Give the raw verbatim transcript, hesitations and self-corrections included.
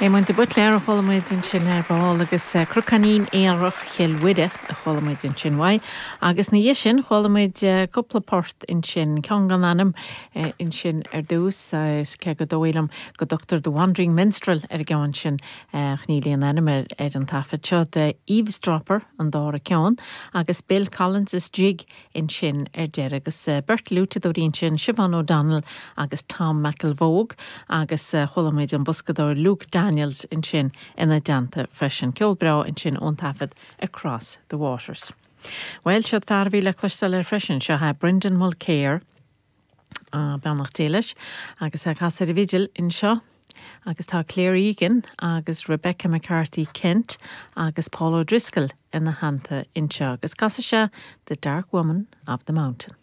Éamonn de Buitléar a chuala muid ansin ar ball agus eh, Cnocáinín Aerach Chill Mhuire a chuala muid ansin uaidh. Agus ina dhiaidh sin chuala muid eh, cúpla port ansin ceann gan ainm eh, ansin ar dtús is cé gur dóigh liom go dtugtar The Wandering Minstrel ar an gceann sin níl aon ainm ar ar an taifead seo The Eavesdropper an dara ceann agus Bill Collins's Jig ansin ar deireadh agus beirt fhliúiteadóirí ansin Siobhán O'Donnell agus Tom McElvogue agus chuala muid an boscadóir Luke Daniels ansin ina dteannta freisin ceol breá ansin ón taifead Across the Waters. Well seo fear a bhí le cloisteáil ar freisin seo é Brendan Mulkere beannacht Dé leis agus ag casadh ar an bhfidil anseo agus tá Claire Egan agus Rebecca McCarthy Kent agus Paul O'Driscoll ina theannta anseo agus casfaidh sé The Dark Woman of the Mountain.